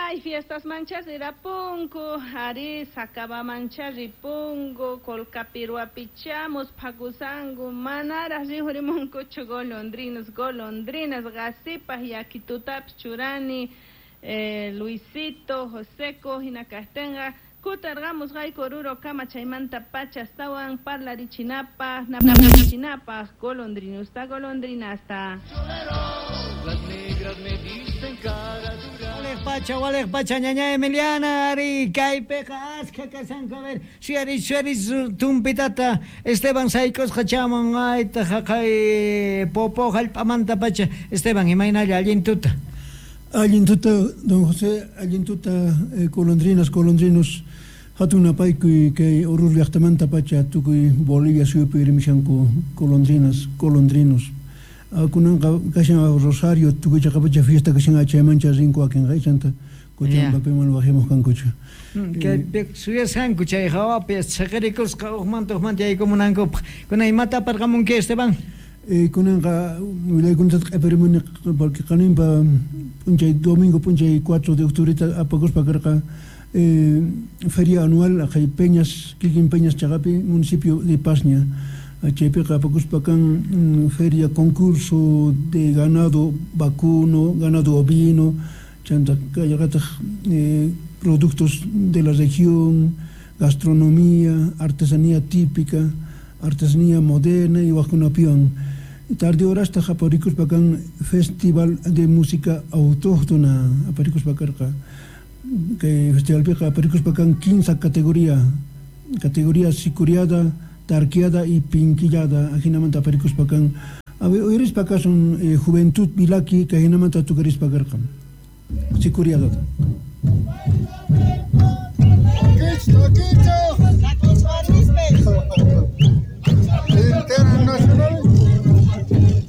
Ay, fiestasmanchá rirapunku, arí, Sacabamanchá ripunku, Colcapirwapichá musphakushanku, manaraj rikhurimunkuchu golondrinos, golondrinas, qasipaj yakitutapis churani, Luisito, Joseco, hina kajtenqa kutarqamusqayku Orurokama chaymantapacha astawan parlarichinapaj, napaychinapaj golondrinosta, golondrinasta. Las negras me dicen cara dura. Walej pacha, walej pacha, ñaña Emiliana, ari, kaypiqa askha kashanku, a ver, suyariy, suyariy, tumpitata Esteban sayk'usqa chamun, aytaq jaqay Popó jallp'amanta pacha. Esteban, imaynalla, allin tuta. Allin tuta, don José, allin tuta, golondrinas, golondrinos, hatun napaykuy kay Oruro llaqtamanta pacha tukuy Bolivia suyupi rimishanku golondrinas, golondrinos. Kunanqa kashan Rosario tukuy chaqapacha fiesta kashan chaymancha rinku wakinqa ichanta Cochabambapiman wajimuq kankuchu. Kaypi suyasqanku chay hawapi chhiqirikusqa ujmanta ujmanta yaykumunankupaq. Kunan imata aparqamunki, Esteban? Kunanqa willaykunata q'epirimuni porque qaninpa p'unchay domingo p'unchay 4 de octubreta apakuspa karqa feria anual aqhay Peñas kikin Peñas chaqapi municipio de Pasña chaypiqa apakuspa kan feria concurso de ganado vacuno, ganado ovino chanta kallaqataq productos de la región, gastronomía, artesanía típica, artesanía moderna y wajkunapiwan. Tarde horastaq aparikuspa kan festival de música autóctona aparikuspa karqa. Kay festivalpiqa aparikuspa kan kinsa categoría, categoría sicuriada, tarquiada y pinquillada, ajinamanta aparikuspa kan. A ver, uyarispa kasun Juventud Vilaki kay jinamanta tukarispa karqa. Sicuriadata. Takich, takich.